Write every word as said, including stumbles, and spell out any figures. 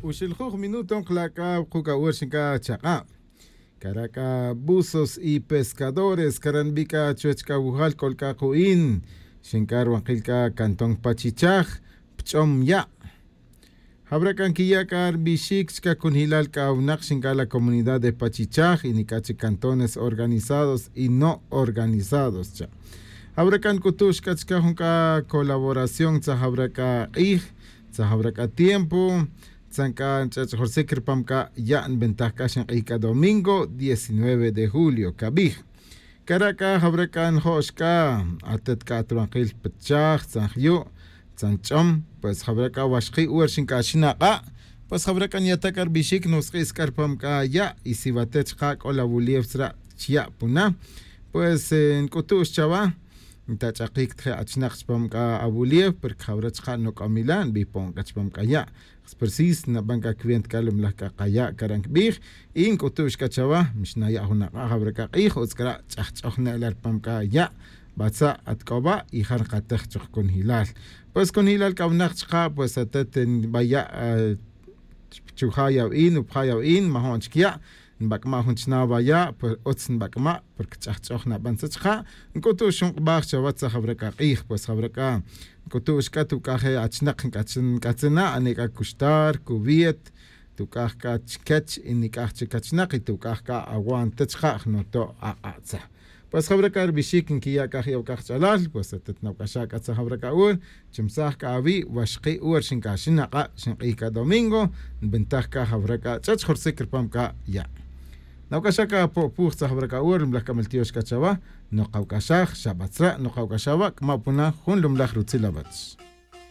Uxil juj minuto nkala' c'a wuku' c'a wer xin c'a chak'a'. Cara' c'a buzos y pescadores cara' nbi' c'a chuwech c'a wujal c'ol c'a ku'in. Xin c'a ruwankil c'a cantón pachichaj pch'om ya'. Jawra' c'a nquiya' c'a rbixic chica cunjilal c'a winak xin c'a la comunidad de pachichaj y nic'a chic cantones organizados y no organizados cha'. Jawra' c'a nc'utux c'a chica jun c'a colaboración tzaj jawra' c'a k'ij, tzaj jawra' c'a tiempo. Tzan c'a nch'ach'jorsic ripam c'a ya' nbentaj c'a xink'ij c'a domingo diecinueve de julio cabij. Cara' c'a jawra' c'a njo'x c'a atet c'a atruwankil pachaj tzan jyu', tzan ch'om. Pues jawra' c'a waxki' wer xinc'axin ak'a'. Pues jawra' c'a nyata' c'a rbixic nusk'is c'a ripam c'a ya' y si watet chka' c'o la wulief tzra' chya' puna. Pues nc'utux chawa ntach'akic ta je' achinak chipam c'a awulief porque jawra' chka' noc'om ila' nbipon c'a chipam c'a ya'. Precis naban c'a cuenta c'a lumlaj c'a kaya' cara' ncbij. Y nc'utux c'a chawa mixnaya' jun ak'a' jawra' c'a k'ij utz c'a ra' ch'ajch'oj na ila' ripam c'a ya'. Batza' at c'o wa' y ja nkatej chuk cunjilal. Pues cunjilal c'a winak chka' pues atet nbaya' chuja' yawin upaja' yawin majo'n chic ya'. Nbac'ma' jun chna waya' pues utz nbac'ma' porque ch'ajch'oj naban tzet chka'. Nc'utux jun k'abaj chawa tzaj jawra' c'a k'ij pues jawra' c'a nc'utux c'a tuc'a je' achinak nc'atzin na ane c'a cuxtar cuwiet tuc'aj c'a chiquech y nic'aj chic achinak y tuc'aj c'a awan ta chka' jnoto' ak'a' tzaj. Pues jawra' c'a rubixic nquiya' c'a je' awac'a kach'alal pues atet nawac'axa' c'a tzaj jawra' c'a ur chimsaj c'a awi' waxki' ur xinc'axin ak'a' xink'ij c'a domingo. Nbentaj c'a jawra' c'a ch'ach jorsic ripam c'a ya' nawac'axa' c'a po'puj tzaj jawra' c'a ur lumlaj c'a maltiox c'a chawa. Nokawac'axaj xa batzra' nokawac'axaj wa' c'a ma' puna jun lumlaj rutzil awach.